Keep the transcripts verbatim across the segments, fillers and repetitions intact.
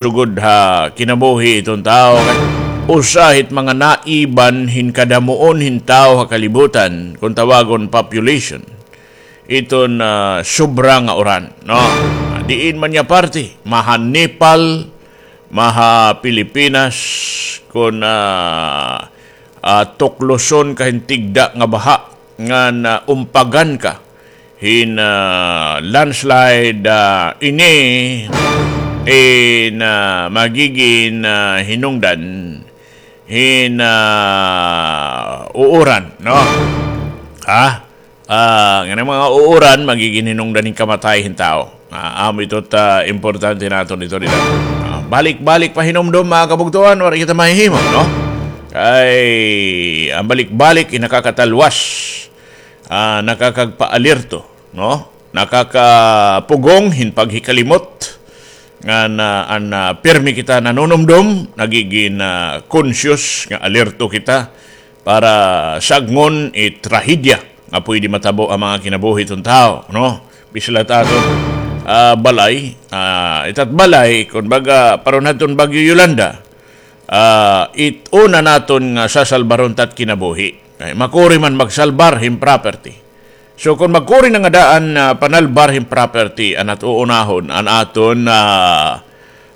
sugod ha kinabuhi iton tawo. Usa hit mga naiban hin kadamuon hin tawo ha kalibutan, kon tawagon population, iton, ah, sobra nga uran, no? Diin man niya parte, maha Nepal, maha Pilipinas, kon, ah, ah, tukloson ka hin tigda nga baha, ngan, ah, umpagan ka hin, ah, landslide, ah, ini in, ah, magigin, ah, hinungdan hin, ah, uuran, no? Ha? Ah, ngan an mga uuran, magigin hinungdan hin kamatay hin tawo. Ah, amo ito ta importante naton dito, dito. Ah, balik-balik pa hinumdom, mga kabugtuan, waray kita mahihimo, no? Kay, an balik-balik, in nakakatalwas, ah, nakakagpaalerto, no? Nakakapugong hin paghikalimot, ngan, ah, an, ah, pirmi kita nanunumdom, nagigin, ah, conscious nga alerto kita, para sagngon it trahedya nga pwede matabo ha mga kinabuhi iton tawo, no? Bislat aton, ah, balay, ah, itat balay, kon baga, paron hadton Bagyo Yolanda, ah, it una naton nga sasalbaron tat kinabuhi. Ay, makuri man magsalbar hin property. So, kon magkuri na nga daan, ah, panalbar hin property, an at uunahon, an aton, ah,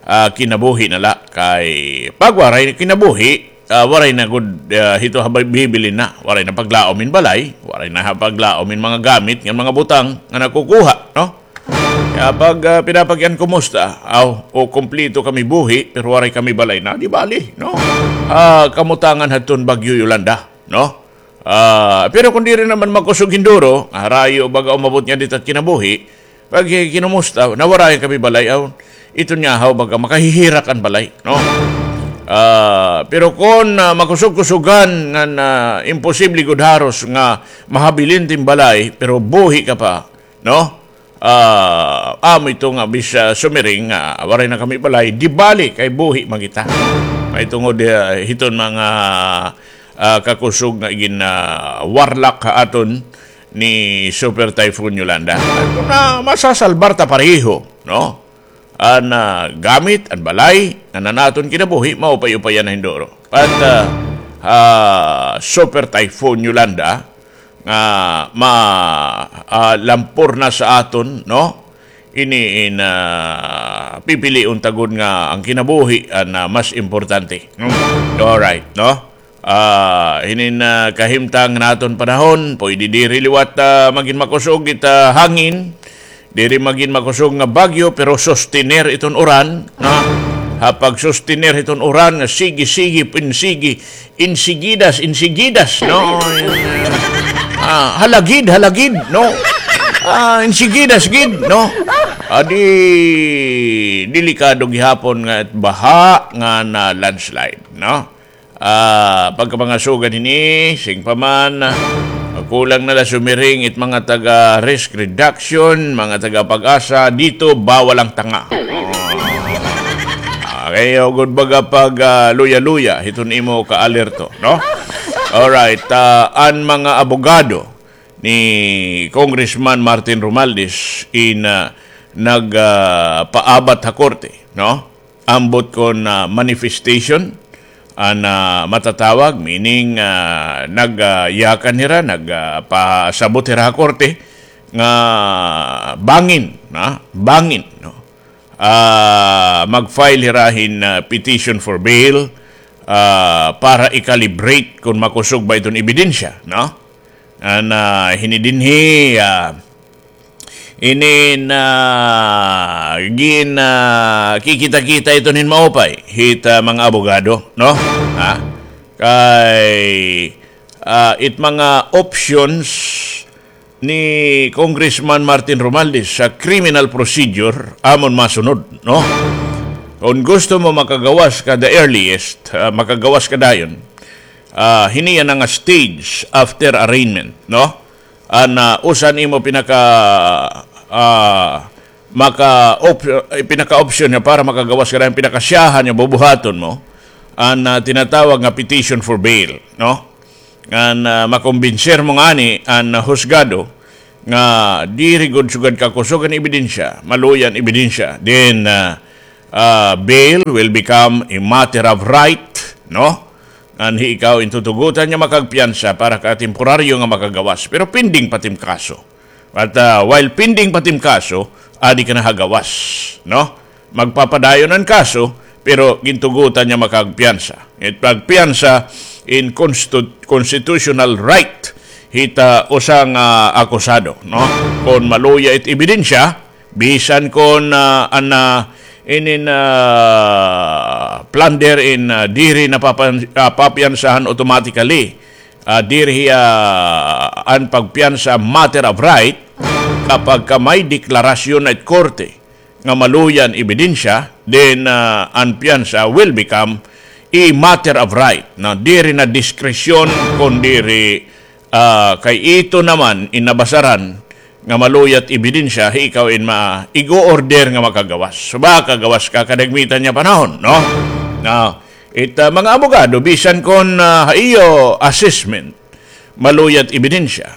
ah, kinabuhi na la. Kay pag waray kinabuhi, ah, waray na gud, ah, hito ha bibilin na. Waray na paglaom hin balay, waray na ha paglaom hin mga gamit ngan mga butang nga nakukuha, no? Kaya pag, ah, pinapagian kumusta, aw, o kumpleto kami buhi, pero waray kami balay na, di bali, no? Ah, kamutangan hadton Bagyo Yolanda, no? Ah, pero kon diri naman makusog hin duro, harayo baga umabot nga dita kinabuhi, pag kinumusta, nawarayan kami balay, aw, ito niya haw baga makahihirak an balay, no? Ah, pero kon, ah, makusog-kusugan nga na imposible gud haros nga mahabilin tin balay, pero buhi ka pa, no? Ah, amo ito nga bisa sumiring nga waray na kami balay, di bali kay buhi man kita. Mahitungod, ah, hiton mga, ah, kakusog nga igin, ah, warlak ha aton ni Super Typhoon Yolanda. At kon, ah, masasalbar ta pareho, no? An, ah, gamit, an balay, an, an aton kinabuhi, maupay-upayan na hin duro. At, ah, ah, Super Typhoon Yolanda, nga ma, ah, lampor na sa aton, no? Ini in, ah, pipilion ta gud nga an kinabuhi an, ah, mas importante, no? Alright, no? Ah, hinin, ah, kahimtang naton panahon, pwede diri liwat, ah, magin makusog it, ah, hangin, diri magin makusog nga bagyo, pero sostener iton uran, no? Ha pagsostener iton uran nga sige, sige, pinsigi, insigidas, insigidas, no? Ah, halagid, halagid, no? Ah, insigidas gid, no? Adi, delikado gihapon nga baha nga na landslide, no? Ah, pagkapangasugan hini, sing pa man, ah, kulang na la sumiring it mga taga Risk Reduction, mga taga Pag-asa, dito bawal ang tanga. Ah, kay ugod baga pag, ah, luya-luya, hiton imo ka-alerto, no? Alright, ah, an mga abogado ni Congressman Martin Romualdez in, ah, nag, ah, paabat ha korte, no? Ambot kon, ah, manifestation an, ah, matatawag, meaning, ah, nag, ah, yakan hira, nag, ah, pasabot hira ha korte nga bangin, na, bangin, no? Ah, mag-file hira hin, ah, petition for bail, ah, para i-calibrate kon makusog ba iton ebidensya, no? An, ah, hini dinhi, ah, ini na gin, ah, kikita-kita iton hin maupay hit, ah, mga abogado, no? Ha? Kay, ah, it mga options ni Congressman Martin Romualdez sa criminal procedure amon masunod, no? Kon gusto mo makagawas ka the earliest, ah, makagawas ka dayon, ah, hini yana nga stage after arraignment, no? An, ah, usa nimo pinaka, ah, maka op-, eh, pinaka-option nga para makagawas ka dayon, pinakasyahan nga bubuhaton mo, an, ah, tinatawag nga petition for bail, no? Ngan, ah, makumbinser mo ngani an, ah, husgado nga diri gud sugad kakusog an ebidensya, maluya an ebidensya. Then, ah, ah, bail will become a matter of right, no? Ngan hi ikaw in tutugotan nga makagpiyansa para ka temporaryo nga makagawas. Pero pending pa tim kaso. At, ah, while pending pa tim kaso, adi ka na ha gawas, no? Magpapadayon an kaso, pero gintugotan nga makagpiyansa. It pagpiyansa in constitu-, constitutional right hit, ah, usa nga akusado, no? Kon maluya it ebidensya, bisan kon, ah, an, ah, inin, ah, plunder in, ah, diri napapan-, ah, papiyansahan automatically, ah, diri, ah, an pagpiyansa matter of right, kapag ka may deklarasyon na it korte nga maluya an ebidensya, then, ah, an piyansa will become a matter of right. Na diri na diskresyon, kon diri, ah, kay ito naman in nabasaran nga maluya it ebidensya, hi ikaw in ma-, ig-o-order nga makagawas. So, baka gawas ka kadagmitan nga panahon, no? Na, it, ah, mga abogado, bisan kon, ah, ha iyo assessment, maluya it ebidensya.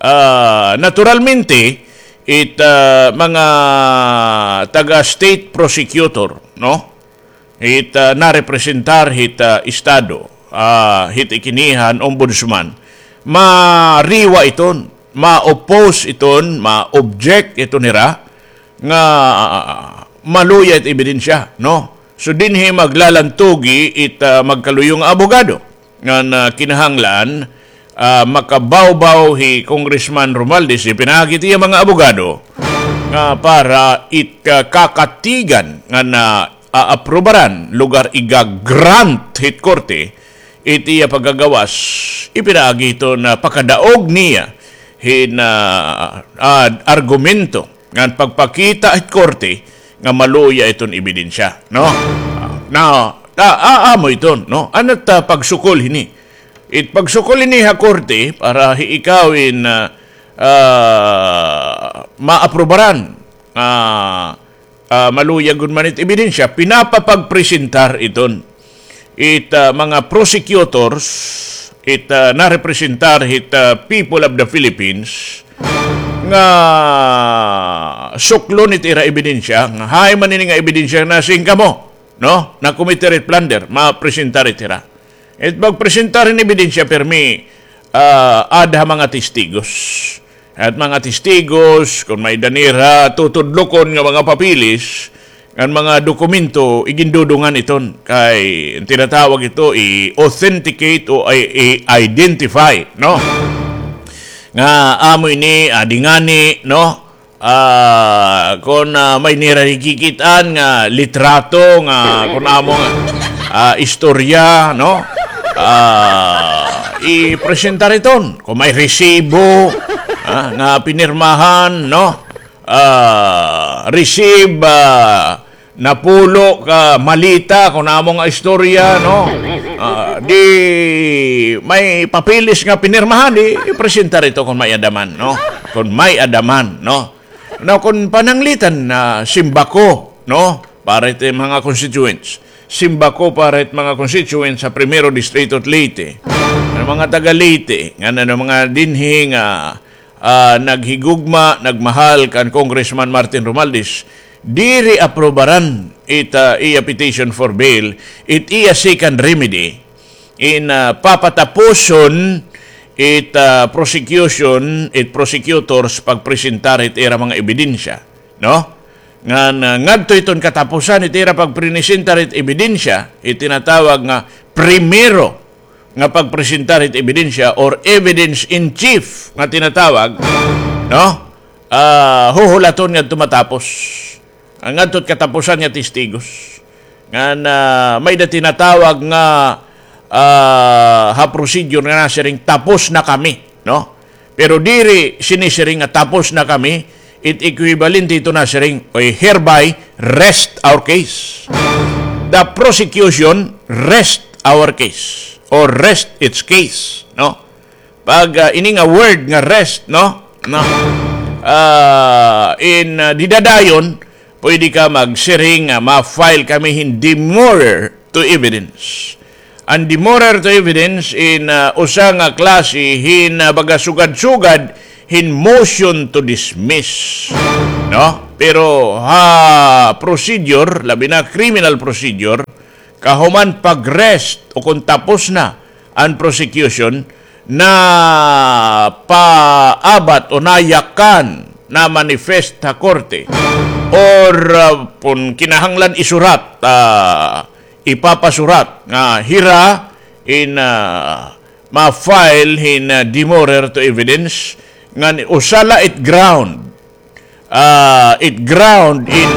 Ah, naturalmente, it, ah, mga taga state prosecutor, no? Hit, ah, narepresentar hit, ah, estado, ah, hit ikinihan ombudsman, mariwa iton, ma-oppose iton, ma-object iton hira nga, ah, maluya it ebidensya, no? So, dinhi maglalantugi it, ah, magkaluyo nga abogado ngan, ah, kinahanglan, ah, makabawbaw hi Congressman Romualdez, ipinaagi it iya mga abogado nga para it, ah, kakatigan ngan, ah, aaprubaran, lugar iga-grant hit korte it iya pagkagawas, ipinaagi iton pakadaog niya hin, ah, ah, argumento ngan pagpakita hit korte nga maluya iton ebidensya, no? Ah, na, ta, ah, amo iton, no? Ano ta pagsukol hini? It pagsukol hini ha korte para hi ikaw in, ah, ah, maaprubaran, ah, ah, maluya gud man it ebidensya, pinapapagpresentar iton. It, ah, mga prosecutors, it, ah, narepresentar hit, ah, people of the Philippines, nga suklon it ira ebidensya, nga hain man ini nga ebidensya nga nasiring kamo, no? Nakomiter it plunder, mapresentar it ira. It pagpresentar hin ebidensya pirmi, ah, aada ha mga testigos. At mga testigos, kon may-ada nira tutudlokon nga mga papeles, ngan mga dokumento, igindudungan iton. Kay, tinatawag ito, i-authenticate o i-, i-identify, no? Nga amo ini, ah, adi ngani, no? Ah, kon, ah, may nira hikikit-an nga litrato nga kon amo nga, ah, istorya, no? Ah, ipresentar iton. Kon may resibo, ah, nga pinirmahan, no? Ah, receive, ah, napulo ka maleta, kon amo nga istorya, no? Ah, di may papeles nga pinirmahan, di ipresentar ito kon may-ada man, no? Kon may-ada man, no? Now, kon pananglitan na simbako, no? Para it mga constituents. Simbako para it mga constituents sa Primero Distrito it Leyte. An mga taga Leyte, ngan an mga dinhi nga, ah, naghigugma, nagmahal kan Congressman Martin Romualdez, diri aprubaran it, ah, iya petition for bail, it iya second remedy, in, ah, papatapuson it, ah, prosecution, it prosecutors pagpresentar it ira mga ebidensya, no? Ngan, ah, ngadto iton katapusan it ira pagpresentar it ebidensya, it tinatawag nga primero nga pagpresentar it ebidensya or evidence in chief nga tinatawag, no? Ah, huhulaton ngadto matapos. An ngadto it katapusan nga testigos. Ngan, ah, may-ada tinatawag nga, ah, ha procedure nga nasiring, "Tapos na kami," no? Pero diri sinisiring nga, "Tapos na kami," it equivalent ito nasiring, "We hereby rest our case." The prosecution rest our case or rest its case, no? Pag, ah, ini nga word nga rest, no? No. Ah, in, ah, dida dayon, pwede ka magsiring nga ma-file kami hin demurrer to evidence. An demurrer to evidence in, ah, usa nga klase hin, ah, baga sugad-sugad hin motion to dismiss, no? Pero ha procedure, labi na criminal procedure, kahuman pag-rest o kon tapos na an prosecution, napaabat o nayakan, na-manifest ha korte, or, ah, kon kinahanglan isurat, ah, ipapasurat nga hira in, ah, ma-file hin, ah, demurrer to evidence, ngan usa la it ground, ah, it ground in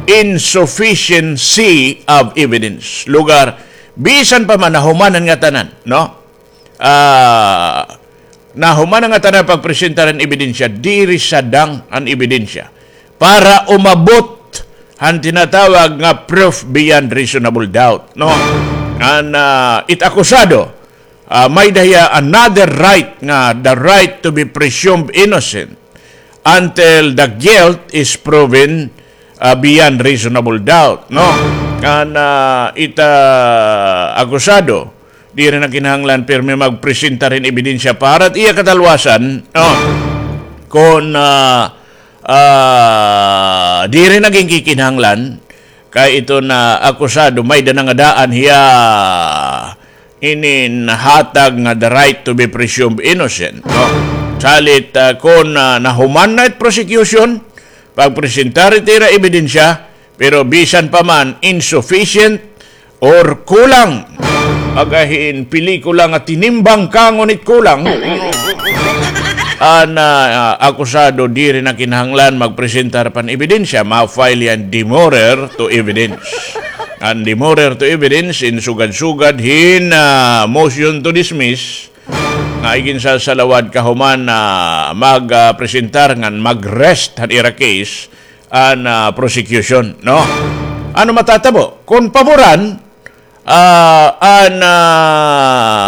insufficiency of evidence. Lugar, bisan pa man nahuman an ngatanan, no? Ah, nahuman an ngatanan pagpresentar an ebidensya, diri sadang an ebidensya para umabot han tinatawag nga proof beyond reasonable doubt, no? An, ah, it akusado, ah, may-ada hiya another right nga the right to be presumed innocent until the guilt is proven, ah, beyond reasonable doubt, no? An, ah, it, ah, akusado, diri na kinahanglan pirmi magpresentar hin ebidensya para it iya katalwasan, no? Kon, ah, ah, diri na ginkikinahanglan, kay iton akusado may-ada na nga daan hiya inin hatag nga the right to be presumed innocent, no? Salit, ah, kon, ah, nahuman na it prosecution pagpresentar it ira ebidensya, pero bisan pa man insufficient or kulang, baga hin pelikula nga tinimbang ka ngunit kulang, an, ah, akusado diri na kinahanglan magpresentar pa hin ebidensya, ma-file hiya hin demurrer to evidence. An demurrer to evidence in sugad-sugad hin, ah, motion to dismiss nga iginsasalawad kahuman na mag, ah, presentar ngan mag-rest han ira case an, ah, prosecution, no? Ano matatabo? Kon paboran, ah, an, ah,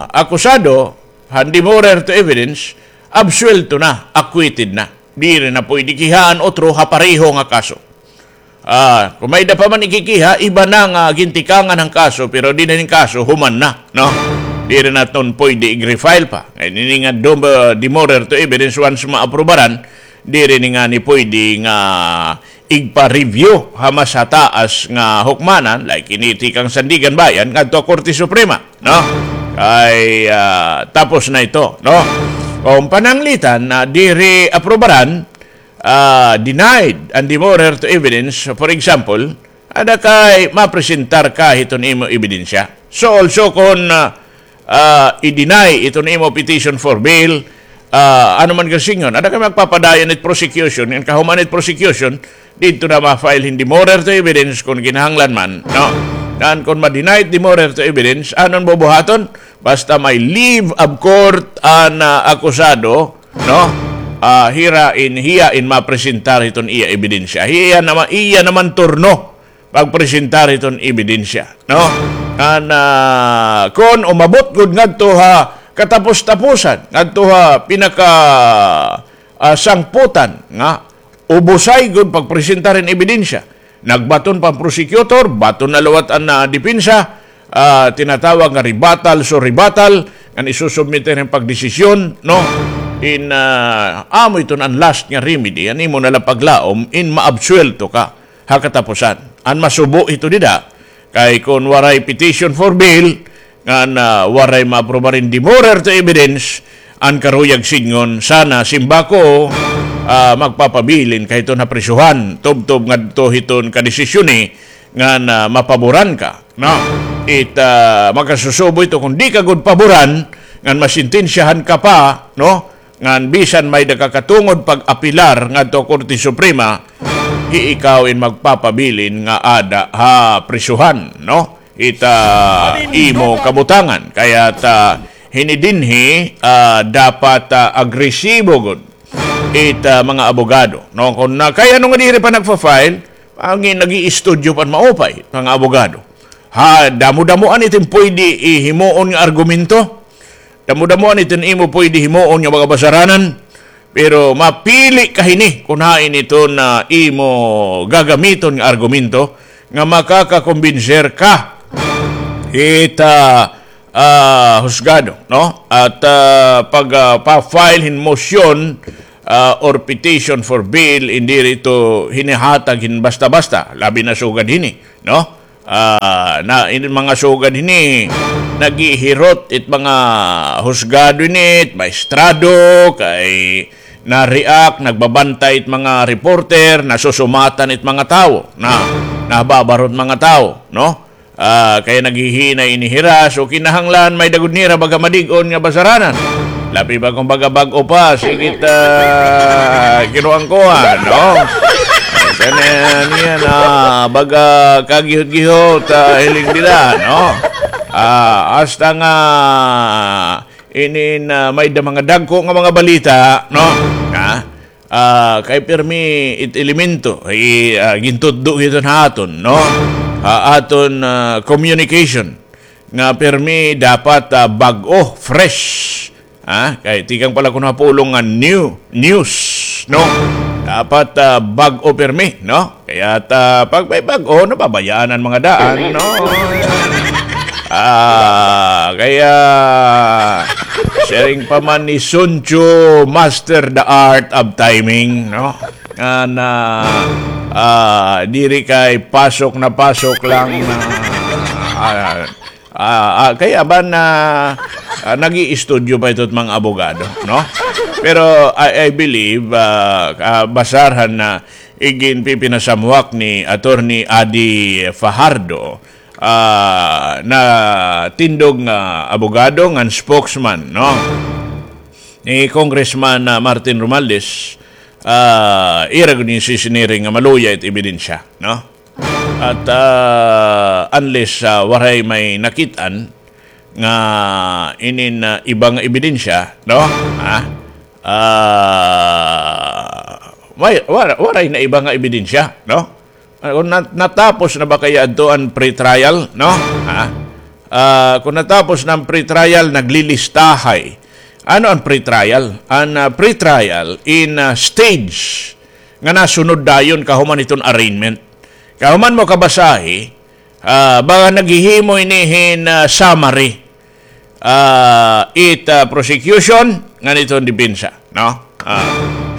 akusado, han demurrer to evidence, absuwelto na, acquitted na. Diri na puydi kihaan utro ha pareho nga kaso. Ah, kon may-ada pa man ikikiha, iba na nga gintikangan han kaso, pero dinhi hin kaso, human na, no? Diri na iton puydi ig-refile pa. Kay ini nga dom-, ah, demurrer to evidence, once maaprubaran, diri ini ngani puydi nga igpa-review ha mas hataas nga hukmanan, like ini tikang Sandiganbayan ngadto ha Korte Suprema, no? Kay, ah, tapos na ito, no? Kon pananglitan na diri aprubaran, ah, denied an demurrer to evidence, for example, ada kay mapresentar ka hiton imo ebidensya. So also kon, ah, ah, i-deny iton imo petition for bail, ah, ano man ka sidngon, ada kay magpapadayon it prosecution, ngan kahuman it prosecution, didto na ma-file hin demurrer to evidence kon kinahanglan man, no? Ngan kon ma-deny it demurrer to evidence, ano an bubuhaton? Basta may leave of court an, ah, akusado, no? Ah, hira in, hiya in mapresentar hiton iya ebidensya. Hiya naman, iya naman turno pagpresentar hiton ebidensya, no? Ngan, ah, kon umabot gud ngadto ha katapos-taposan, ngadto ha pinaka, ah, sangputan nga ubusay gud pagpresentar hin ebidensya. Nagbaton pa an prosecutor, baton na liwat an, ah, depensa, ah, tinatawag nga rebuttal, so rebuttal, ngan isusubmit hin pagdesisyon, no? In, ah, amo iton an last nga remedy, an imo na la paglaom, in maabsuwelto ka ha katapusan. An masubo hito dida, kay kon waray petition for bail, ngan, ah, waray maaprubar in demurrer to evidence, an karuyag sidngon, sana, simba ko, ah, magpapabilin ka hiton ha prisohan, tubtob ngadto hiton kadesisyoni, ngan, ah, mapaboran ka, no? It, ah, makasusubo ito kon di ka gud paboran, ngan masentensyahan ka pa, no? Ngan bisan may-ada ka katungod pag-apelar ngadto ha Korte Suprema, hi ikaw in magpapabilin nga ada ha prisohan, no? It, ah, imo kabutangan. Kay it, ah, hini dinhi, ah, dapat, ah, agresibo gud it, ah, mga abogado, no? Kon na, kay ano nga diri pa nagfa-file, an nag-iistudyo pa an maupay, mga abogado. Ha, damo-damoan iton puydi himuon nga argumento. Damo-damoan iton imo puydi himuon nga mga basaranan, pero mapili ka hini kon hain iton imo gagamiton nga argumento nga makakakumbinser ka hit, ah, ah, husgado, no? At, ah, pag, ah, pa-file hin motion, ah, or petition for bail, hindi diri ito hinihatag hin basta-basta, labi na sugad hini, no? Ah, na, in mga sugad hini, naghihirot it mga husgado ini, it maestrado, kay na-react, nagbabantay it mga reporter, nasusumatan it mga tawo, na, nababarot mga tawo, no? Ah, kay naghihinay ini hira, so kinahanglan may-ada gud nira baga madig-on nga basaranan. Labi pa kon baga bag-o pa, sige ta, kinuan-kuan, no? Kani niya na baga kagihot-gihot, ah, hiling dida, no? Ah, hasta nga inin, ah, may-ada mga dagko nga mga balita, no? Ha? Ah, kay pirmi it elemento, i-, ah, gintutdo hiton ha aton, no? Ha aton, ah, communication nga pirmi dapat, ah, bag-o, fresh. Ha? Kay tikang pala kuno ha pulong nga new, news, no? Dapat, ah, bag-o pirmi, no? Kaya ta, pag may bag-o, nababayaan an mga daan, no? Ah, kaya, siring pa man ni Sun Tzu, master the art of timing, no? Nga na, ah, diri kay pasok na pasok lang na, ah, ah, ah, kaya ba na, ah, nag-iistudyo pa ito mga abogado, no? Pero I, I believe, ah, ah, basarhan na iginpipinasamwak ni Attorney Adi Fajardo, ah, na tindog nga abogado ngan spokesman, no? Ni Congressman, ah, Martin Romualdez, ah, ira gud ini sisiniring nga maluya it ebidensya, no? At, ah, unless, ah, waray may nakit-an nga inin, ah, iba nga ebidensya, no? Ha? Ah, may, wara-, waray na iba nga ebidensya, no? Ah, kon nat-, natapos na ba kaya adto an pretrial, no? Ha? Ah, kon natapos na an pretrial, naglilistahay. Ano an pretrial? An, ah, pretrial in, ah, stage nga nasunod dayon kahuman hiton arraignment. Kahuman mo kabasahi, ah, baga naghihimo ini hin, ah, summary, ah, it, ah, prosecution ngan iton depensa, no? Ah,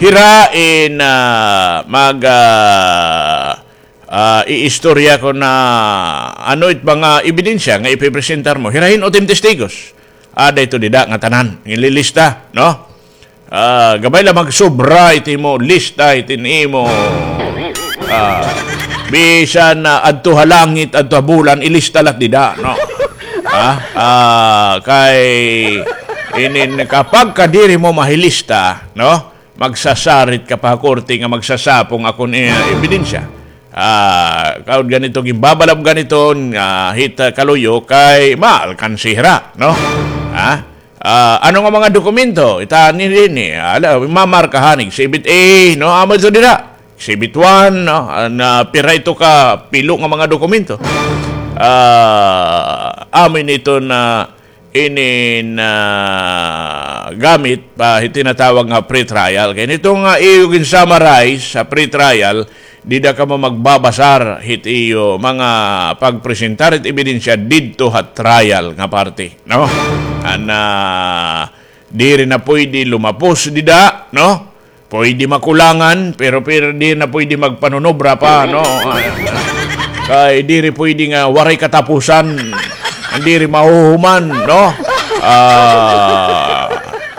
hira in, ah, mag, ah, ah, iistorya kon ano it mga ebidensya nga ipipresentar mo. Hira hin-o it im testigos. Ada ito dida nga tanan, nginlilista, no? Ah, gamay la magsobra it imo lista, it imo, ah, bisan, ah, adto ha langit, adto ha bulan, ilista la it dida, no? Ah, ah, kay inin kapag ka diri mo mahilista, no? Magsasarit ka pa ha korte nga magsasapong akon, eh, ebidensya. Ah, kaon ganito, ginbabalab ganito, nga hit, ah, kaluyo kay maalkansi hira, no? Ha? Ah, ano nga mga dokumento? Ita ni, ni, ala, mamarkahan, Exhibit A, no? Amo ito dira. Exhibit one, no? Ah, na pira ito ka pilo nga mga dokumento. Ah, amo ini ito na inin, ah, gamit pa hit tinatawag nga pretrial. Kay nito nga iyo gin-summarize sa pretrial, dida kamo magbabasar hit iyo mga pagpresentar hit ebidensya didto ha trial nga parte, no? An, ah, diri na pwede lumapos dida, no? Pwede makulangan, pero, pero diri na pwede magpanunobra pa, no? Kay diri pwede nga waray katapusan, diri mahuhuman, no? Ah,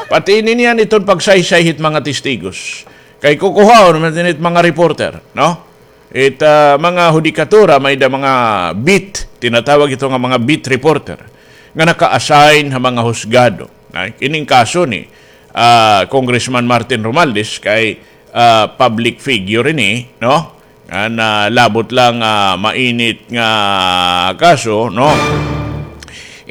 pati ini niyan iton pagsaysay hit mga testigos. Kay kukuhaon man ini hit mga reporter, no? It, ah, mga hudikatura, may-ada mga beat, tinatawag ito nga mga beat reporter, nga naka-assign ha mga husgado. Ay, kining kaso ni, ah, Congressman Martin Romualdez kay, ah, public figure ini, no? Nga nalabot lang, ah, mainit nga kaso, no?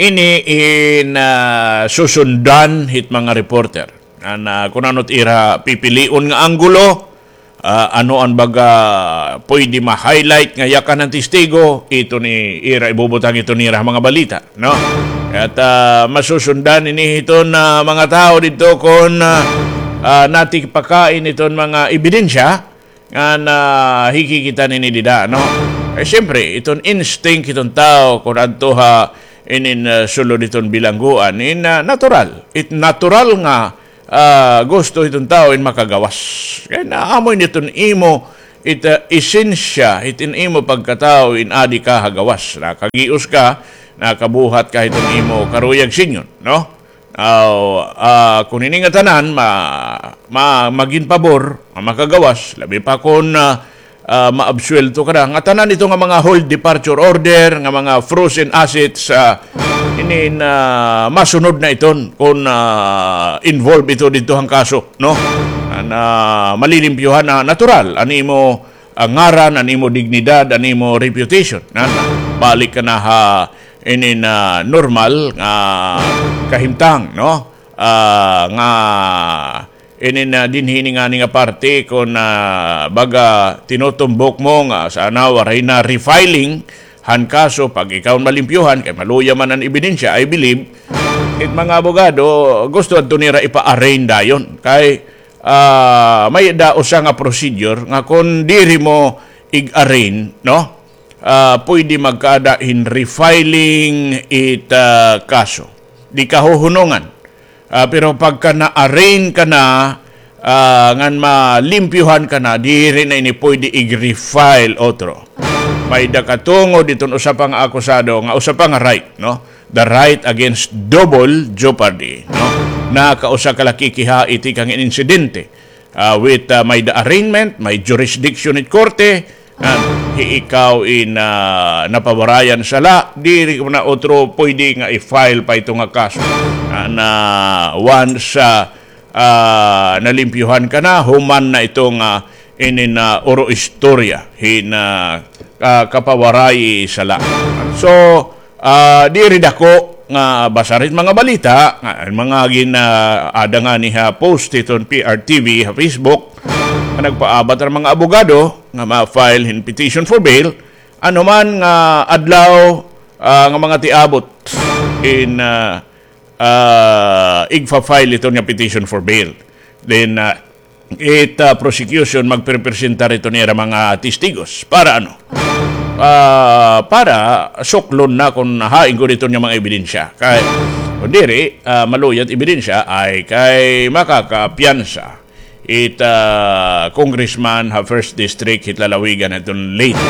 Ini in, ah, susundan hit mga reporter. Nga na, kun ano it ira pipilion nga anggulo, ah, ano an baga pwede ma-highlight nga yakan han testigo, ito ni ira ibubutang ito nira ha mga balita, no? At, ah, masusundan ini hiton, ah, mga tawo didto kon, ah, ah, natikpakain iton mga ebidensya nga nahikikita nini dida, no? Eh, siyempre, iton instinct hiton tawo kon adto ha inin, ah, sulod hiton bilangguan, in, ah, natural. It natural nga, ah, gusto hiton tawo in makagawas. Kay naamo ini hiton imo, it, ah, esensya, hiton imo pagkatawo in adi ka ha gawas. Nakagios ka, nakabuhat ka hiton imo karuyag, Señor, no? Aw, ah, kon ini nga tanan ma-, ma-, magin pabor, ma-, makagawas, labi pa kon, ah, ah, maabsuwelto ka na. Nga tanan ito nga mga hold departure order, nga mga frozen assets, ah, inin, ah, masunod na iton kon, ah, involved ito didto han kaso, no? Na, na malilimpyuhan na natural an imo, ah, ngaran, an imo dignidad, an imo reputation. Na, na balik ka na ha inin, ah, normal nga kahimtang, no? Ah, nga inin, ah, dinhi ini ngani nga parte kon, ah, baga tinutumbok mo nga sana waray na refiling han kaso pag ikaw malimpyuhan, kay maluya man an ebidensya, I believe, it mga abogado, gusto adto nira ipa-arraign dayon. Kay, ah, may-ada usa nga procedure nga kon diri mo ig-arraign, no? Ah, pwede magkaada hin refiling it, ah, kaso. Di kahuhunongan. Ah, pero pagka na-arraign ka na, ah, ngan malimpyuhan ka na, diri na ini pwede ig-refile otro. May-ada katungod iton usa pa nga akusado nga usa pa nga right, no? The right against double jeopardy, no? Nakausa ka la kikiha itikang insidente, ah, with, ah, may-ada arraignment, may jurisdiction it korte, ah, hi ikaw in, ah, napawarayan sala, diri ko na otro pwede nga i-file pa ito nga kaso. Ah, na once, ah, ah, nalimpyuhan ka na, human na ito nga inin, ah, uro istorya hin, ah, ah, kapawaray sala. So, ah, diri dako nga basar it mga balita, nga mga gin-, ah, ada ngani ha post hiton P R T V ha Facebook, nga nagpaabat an mga abogado nga ma-file hin petition for bail, ano man nga adlaw, ah, nga mga tiabot in, ah, ah, igfa-file iton nga petition for bail. Then, ah, it, ah, prosecution magperepresentar iton ira mga testigos. Para ano? Ah, para suklon na kon hain gud iton nga mga ebidensya. Kay, kon diri, ah, maluya it ebidensya, ay kay makakapiyansa it, ah, congressman ha first district hit lalawigan hiton Leyte.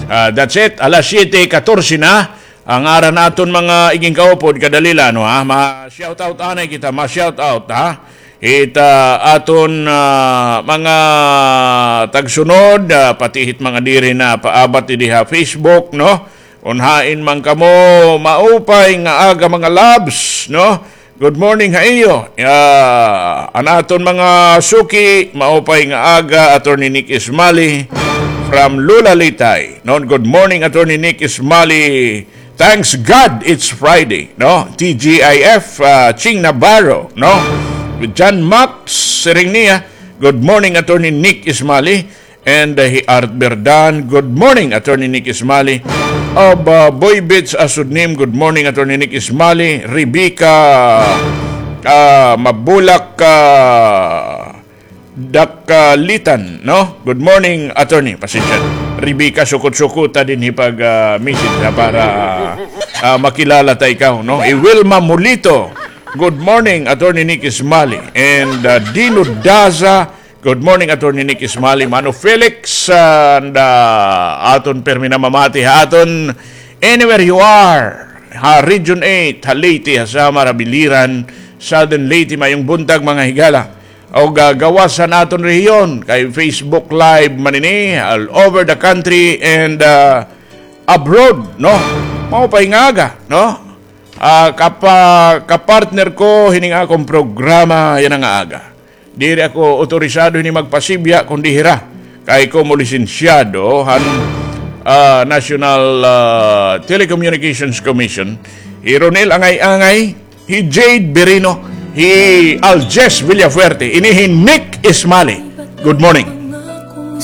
Ah, that's it. Alas siyete katorse na. An ngaran aton mga igin kaupod, kadali la, no, ha? Ma-shout out anay kita, ma-shout out, ha? Hit, ah, aton, ah, mga tagsunod, ah, pati hit mga diri na paabat didi ha Facebook, no? Kon hain man kamo, maupay nga aga, mga loves, no? Good morning ha iyo. Ah, an aton mga suki, maupay nga aga, Attorney Nick Ismali from Lula, Leyte. No, good morning, Attorney Nick Ismali. Thanks God it's Friday, no? T G I F, ah, Ching Navarro, no? John Max, siring niya, good morning, Attorney Nick Ismali. And, uh, hi Art Berdan, good morning, Attorney Nick Ismali. Of, uh, Boy Beats Asudnim, good morning, Attorney Nick Ismali. Rebecca, uh, Mabulak, uh, Dakalitan, no? Good morning, Attorney. Pasensya. Rebecca, sukot-sukuta dinhi pag, uh, message na para, uh, makilala ta ikaw, no? Hi Wilma Mulito, good morning, Attorney Nick Ismali. And, uh, Dino Daza, good morning, Attorney Nick Ismali, Mano Felix, and, uh, aton pirmi namamati ha aton anywhere you are, ha Region eight, ha Leyte, ha Samar, ha Biliran, Southern Leyte, mayong buntag, mga higala. O ga-, gawas han aton rehiyon, kay Facebook Live man ini, all over the country and, uh, abroad, no? Maupay nga aga, no? Ah, kapa-, kapartner ko hining akon programa yana nga aga. Diri ako otorisado hini magpasibya kundi hira. Kay komo lisensyado han, ah, National, ah, Telecommunications Commission, hi Ronel Angay-angay, hi Jade Berino, hi Aljes Villafuerte, ini hi Nick Ismali. Good morning.